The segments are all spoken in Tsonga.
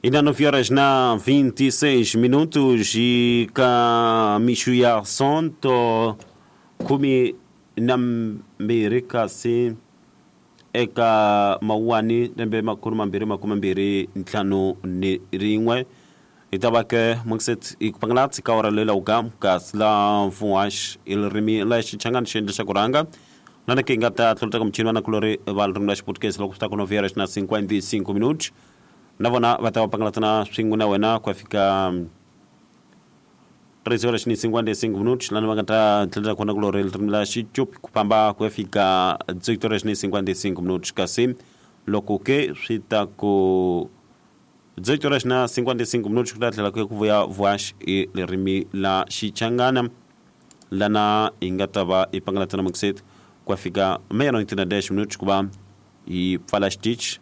Ina 9 horas na 26 minutos e ka mixu ya sonto 12 kasi eka mawuwani lembe 2025 hi ta va ke mukset hi ku pangalatsi ka ora leyi lawuka kasi la mfuwax i ririmi la xichangani xi endla xa ku rhanga lana ke hi nga ta tlulutaka muchini va nakulori va ririmi la xiputukezi loko swi ta ku 9 horas na 55 minutos na vona va ta va pangalatsana swin'we na wena ku ya fika 13 horas ni 55 minutos lana va nga ta tlhelela kona kulori ririmi la xicopi ku famba ku ya fika 18 horas ni 55 minutos kasi loko ke swi ta ku 18 horas na 55 minutos ku ta tlhela ku ya ku vuya voax i ririmi la xichangana lana hi nga ta va hi pangalatsana mukiseti ku ya fika meia-noite na 10 minutos ku va hi pfala xitichi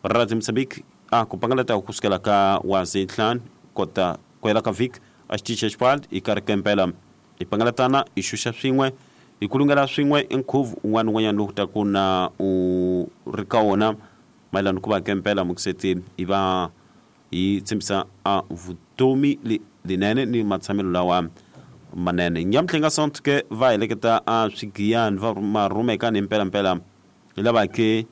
Radio Mozambique a ku pangalata ku sukela ka wazi ntlhanu kota ku hela ka vhiki a xitichi xa xipali hi karhi kempela hi pangalatana hi xuxa swin'we hi kulungela swin'we i nkhuvo un'wana ni un'wanyana lowu taku na u ri ka wona mayelana ku va kempela mukiseti hi va hi tshembisa a vutomi lelinene ni matshamelo lawa manene nyamutlha nga sonto ke va heleketa a swigiyani va marhumekani hi mpelampela hi lava ke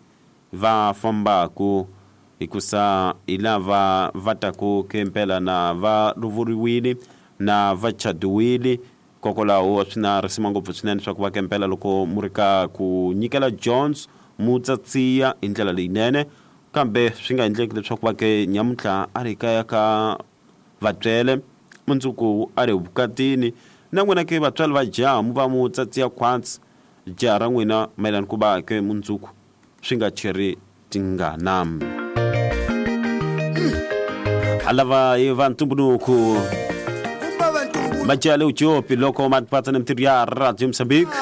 va fambaku hikusa hi lava va taku ke mpela na va lovoriwile na va chadiwile kokwalaho swi na risima ngopfu swinene swa ku va ke mpela loko mu ri ka ku nyikela jones mu tsatsiya hi ndlela leyinene kambe swi nga endleki leswaku va ke nyamuntlha a ri kaya ka vatswele mundzuku a ri vukatini na n'wina ke vatswari va jaha mu va mu tsatsiya khwatsi jaha ra n'wina mayelana ku va ke mundzuku swi nga cheri tingana alava hi va ntumbuluko majaha le ujopi loko ma patsa ni mintirho ya radio mozambique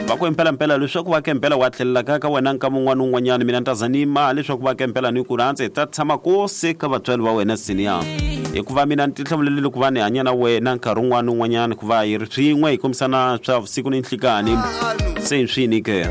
va ku impelampela leswaku va kempela wa tlhelela ka ka wena nkama un'wana ni un'wanyana mina ni ta za ni ma leswaku va kempela ni ku rhandza hi ta tshama kosi ka vatswari va wena senior hikuva mina ni tihlawulelile ku va ni hanya na wena nkarhi un'wana ni un'wanyana ku va hi ri swin'we hi kombisana swa vusiku ni nhlikani se hi swini ke.